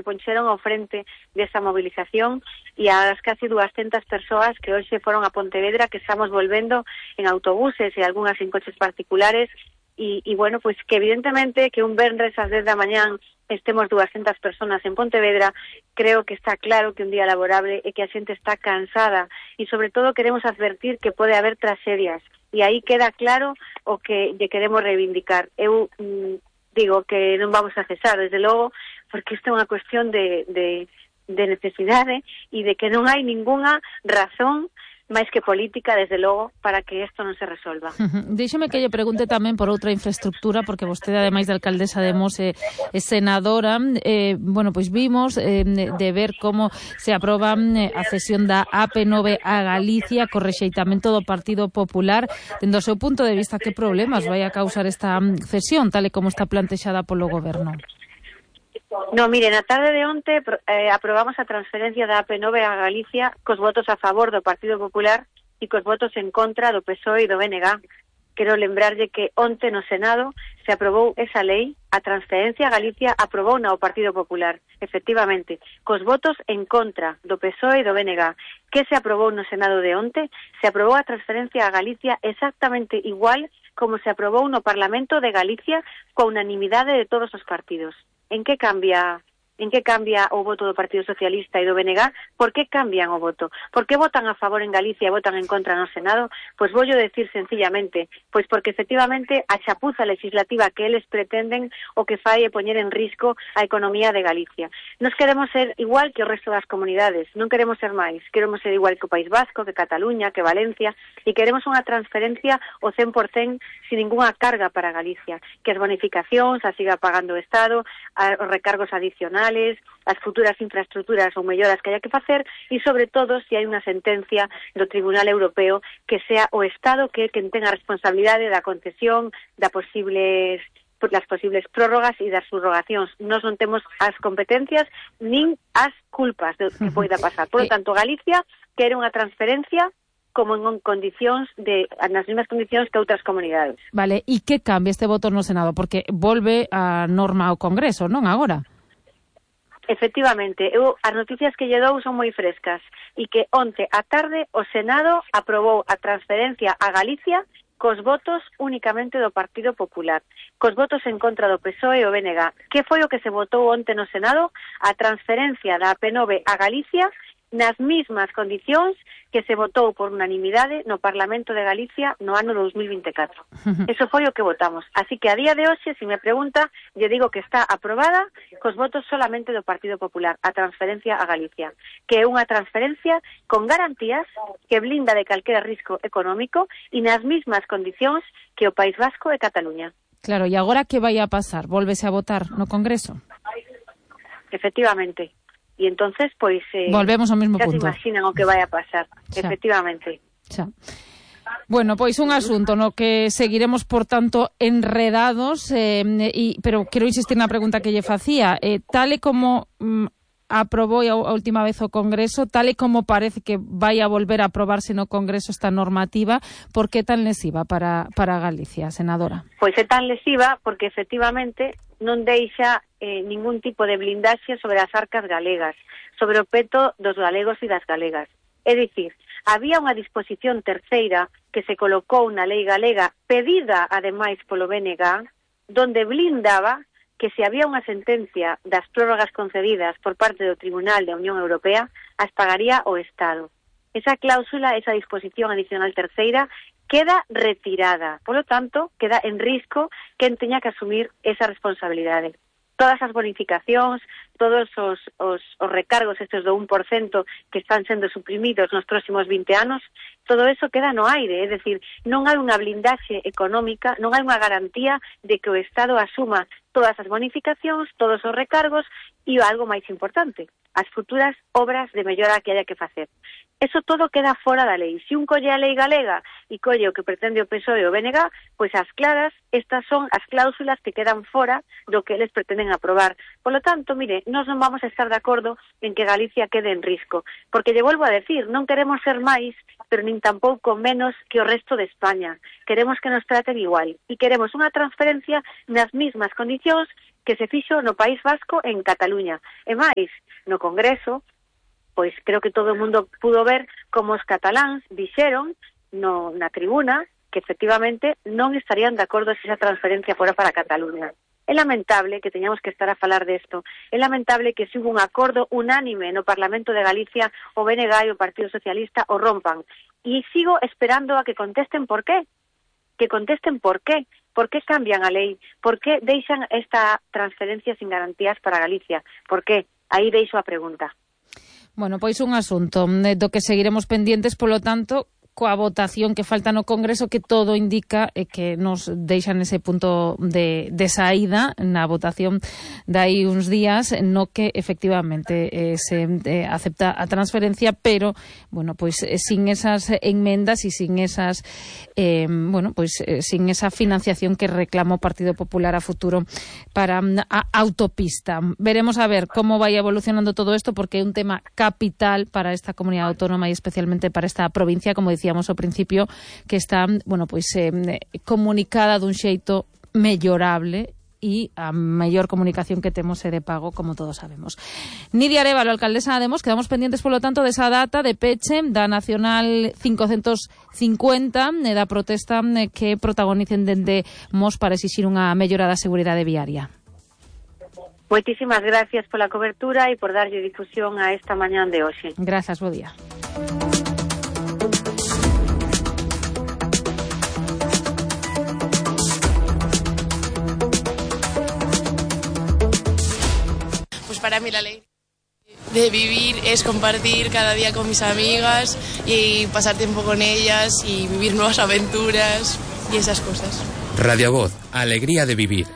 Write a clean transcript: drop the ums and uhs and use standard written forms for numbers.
poncheron ao frente desa movilización e as casi 200 persoas que hoxe foron a Pontevedra, que estamos volvendo en autobuses e algunhas en coches particulares e bueno, pois que evidentemente que un venres ás 10 da mañán estemos 200 personas en Pontevedra, creo que está claro que un día laborable e que a xente está cansada e sobre todo queremos advertir que pode haber tragedias e aí queda claro o que lle queremos reivindicar. Eu digo que non vamos a cesar, desde logo, porque isto é unha cuestión de necesidade e de que non hai ningunha razón máis que política, desde logo, para que isto non se resolva. Déixeme que lle pregunte tamén por outra infraestructura, porque vostede, ademais de alcaldesa de Mos, é senadora. Bueno, pois vimos de ver como se aproba a cesión da AP9 a Galicia co rexeitamento do Partido Popular. Dende o seu punto de vista, que problemas vai a causar esta cesión, tal e como está plantexada polo Goberno? No, mire, na tarde de onte aprobamos a transferencia da AP9 a Galicia cos votos a favor do Partido Popular e cos votos en contra do PSOE e do BNG. Quero lembrarlle que onte no Senado se aprobou esa lei, a transferencia a Galicia aprobou na o Partido Popular, efectivamente, cos votos en contra do PSOE e do BNG. Que se aprobou no Senado de onte? Se aprobou a transferencia a Galicia exactamente igual como se aprobou no Parlamento de Galicia coa unanimidade de todos os partidos. En que cambia o voto do Partido Socialista e do BNG? Por que cambian o voto? Por que votan a favor en Galicia e votan en contra no Senado? Pois voullo decir sencillamente, pois porque efectivamente a chapuza legislativa que eles pretenden o que fai é poñer en risco a economía de Galicia. Nos queremos ser igual que o resto das comunidades, non queremos ser máis, queremos ser igual que o País Vasco, que Cataluña, que Valencia, e queremos unha transferencia o 100% sin ningunha carga para Galicia, que as bonificacións as siga pagando o Estado, os recargos adicionales, as futuras infraestructuras ou melloras que haya que facer e, sobre todo, se hai unha sentencia do Tribunal Europeo que sea o Estado que quen tenga a responsabilidade da concesión, das posibles prórrogas e das subrogacións. Nós non temos as competencias nin as culpas do que poida pasar. Por lo tanto, Galicia quere unha transferencia como en condicións nas mesmas condicións que outras comunidades. Vale, e que cambia este voto no Senado? Porque volve a norma ao Congreso, non agora? Efectivamente, as noticias que lle dou son moi frescas e que onte á tarde o Senado aprobou a transferencia a Galicia cos votos únicamente do Partido Popular, cos votos en contra do PSOE e o BNG. Que foi o que se votou onte no Senado? A transferencia da AP9 a Galicia nas mismas condicións que se votou por unanimidade no Parlamento de Galicia no ano 2024. Eso foi o que votamos. Así que a día de hoxe, se me pregunta, lle digo que está aprobada cos votos solamente do Partido Popular, a transferencia a Galicia, que é unha transferencia con garantías que blinda de calquera risco económico e nas mismas condicións que o País Vasco e Cataluña. Claro, e agora que vai a pasar? Volvese a votar no Congreso? Efectivamente. E entonces, pois, volvemos ao mesmo punto. Se imaginan o que vai a pasar, efectivamente. Xa. Bueno, pois un asunto no que seguiremos, por tanto, enredados, pero quero insistir na pregunta que lle facía. Tal e como aprobou a última vez o Congreso, tal e como parece que vai a volver a aprobarse no Congreso esta normativa, por que tan lesiva para Galicia, senadora? Pois é tan lesiva porque, efectivamente, non deixa ningún tipo de blindaxe sobre as arcas galegas, sobre o peto dos galegos e das galegas. É dicir, había unha disposición terceira que se colocou na lei galega, pedida, ademais, polo BNG, donde blindaba que se había unha sentencia das prórrogas concedidas por parte do Tribunal da Unión Europea, as pagaría o Estado. Esa cláusula, esa disposición adicional terceira, queda retirada. Por lo tanto, queda en risco quen teña que asumir esa responsabilidade. Todas as bonificacións, todos os recargos estes do 1% que están sendo suprimidos nos próximos 20 anos, todo eso queda no aire, é dicir, non hai unha blindaxe económica, non hai unha garantía de que o Estado asuma todas as bonificacións, todos os recargos e algo máis importante, as futuras obras de mellora que haya que facer. Eso todo queda fora da lei. Se un colle a lei galega e colle o que pretende o PSOE e o BNG, pois as claras, estas son as cláusulas que quedan fora do que eles pretenden aprobar. Por lo tanto, mire, nós non vamos a estar de acordo en que Galicia quede en risco, porque lle volvo a decir, non queremos ser máis, pero nin tampouco menos que o resto de España. Queremos que nos traten igual e queremos unha transferencia nas mismas condicións que se fixo no País Vasco en Cataluña. E máis, no Congreso, pois creo que todo o mundo pudo ver como os cataláns dixeron na tribuna que efectivamente non estarían de acordo se esa transferencia fora para Cataluña. É lamentable que teñamos que estar a falar desto. É lamentable que se hubo un acordo unánime no Parlamento de Galicia, o BNG e o Partido Socialista o rompan. E sigo esperando a que contesten por qué. Que contesten por qué. Por qué cambian a lei? Por qué deixan esta transferencia sin garantías para Galicia? Por qué? Aí deixo a pregunta. Bueno, pois un asunto do que seguiremos pendientes, polo tanto, coa votación que falta no Congreso, que todo indica que nos deixan ese punto de saída na votación dai uns días, no que efectivamente se acepta a transferencia, pero bueno, pois sin esas enmendas e sin esas sin esa financiación que reclamou o Partido Popular a futuro para a autopista. Veremos a ver como vai evolucionando todo isto, porque é un tema capital para esta comunidade autónoma e especialmente para esta provincia, como decíamos ao principio, que está, comunicada dun xeito mellorable e a mellor comunicación que temos é de pago, como todos sabemos. Nidia Arévalo, alcaldesa de Mos, quedamos pendientes, polo tanto, desa data de peche da Nacional 550 e da protesta que protagonicen dende Mos para exixir unha mellora da seguridade viaria. Moitísimas gracias pola cobertura e por darlle difusión a esta mañán de hoxe. Grazas, bo día. Para mí la ley de vivir es compartir cada día con mis amigas y pasar tiempo con ellas y vivir nuevas aventuras y esas cosas. Radio Voz, alegría de vivir.